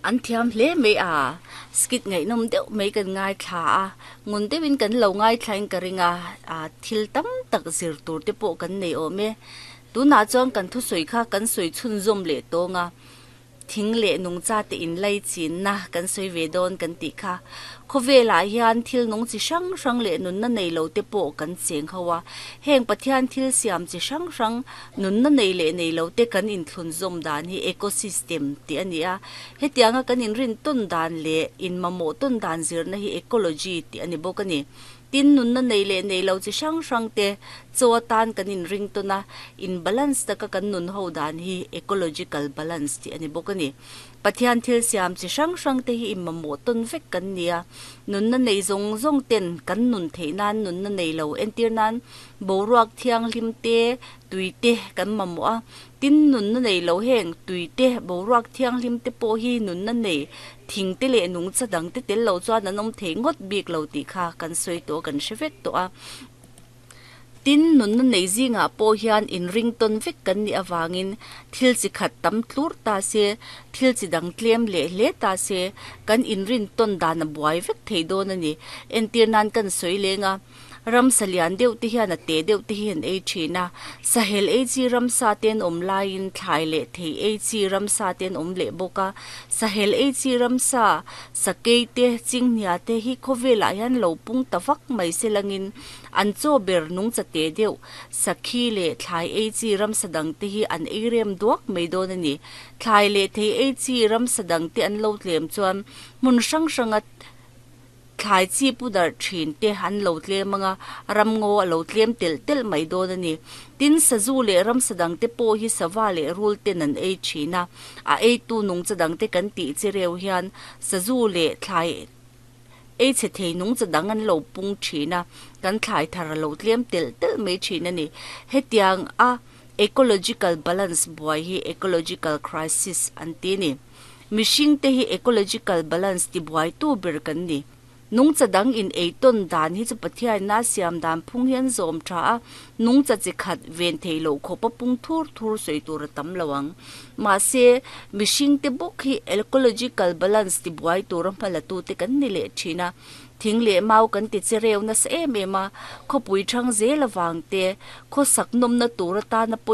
An thiam hle mai a, skit ngaihnawm deuh mai kan ngaithla a, ngun deuhin kan lo ngaithlain ka ring a, thil tam tak zir tur te pawh kan nei awm e. Tunah chuan kan thusawi kha kan sawi chhunzawm leh tawng a. Thing leh nungchate inlai chinna kan sawi ve dawn kan tih kha. Khawvelah hian thil nung chi hrang hrang leh nunna nei lo te pawh kan cheng ho a. Heng Pathian thil siam chi hrang hrang, nunna nei leh nei lo te kan inthlunzawm dan hi ecosystem tih a ni a. Hetianga kan inrin tawn dan leh inmamawh tawn dan zirna hi ecology tih a ni bawk a ni. Tin, nunna nei leh nei lo chi hrang hrang te chaw atan kan inring tawn a, in balance taka kan nun ho dan hi ecological balance tih a ni bawk a ni. Pathian thil siam chi hrang hrang te hi inmamawh tawn vek kan ni a, nunna nei zawng zawng ten kan nun theih nan nunna nei lo entir nan boruak thianghlim te, tui te kan mamawh a. Tin, nunna nei lo heng tui te, boruak thianghlim te pawh hi nunna nei thing te leh nungcha dang te tel lo chuan an awm thei ngawt bik lo tih kha kan sawi tawh kan hre vek tawh a. Tin, nunna nei zingah pawh hian inring tawn vek kan nih avangin thil chi khat tam tlur ta se, thil chi dang tlem leh hle ta se, kan inrin tawn dan a buai vek thei dawn a ni. Entir nan kan sawi leng a. Ramsa lian deuh te hian a te deuh te hi an ei thin a, sahel ei chi ramsa te an awm laiin thlai leh thei ei chi ramsa te an awm leh bawk a. Sahel ei chi ramsa, sakei te, chinghnia te hi khawvelah hian lo pung ta vak mai se langin an chaw ber nungcha te deuh, sakhi leh thlai ei chi ramsa dang te hi an ei rem duak mai dawn a ni. Thlai leh thei ei chi ramsa dang te an lo tlem chuan hmun hrang hranga Thlai chi pu darh thin te an lo tlem ang a, ramngaw a lo tlem telh telh mai dawn a ni. Tin, sazu leh ramsa dang te pawh hi sava leh rul ten an ei thin a, a eitu nungcha dang te kan tih chi reu hian sazu leh thlai ei chhe thei nungcha dang an lo pung thin a, kan thlai thar a lo tlem telh telh mai thin a ni. Hetiang a ecological balance buai hi ecological crisis an ti a ni. Mihring te hi ecological balance ti buaitu ber kan ni. Nungcha dang in ei tawn dan hi chu Pathianna siam dan phung hian zawm tha a, nungcha chi khat ven thei loh khawpa pung thur thur sawi tur a tam lo ang. Mahse, mihring te bawk hi ecological balance ti buai tura hma la tu te kan ni leh thin a. Thing leh mau kan ti che reu nasa em em a, khawpui thang zel avang te, khawsak nawmna tur atana pawi.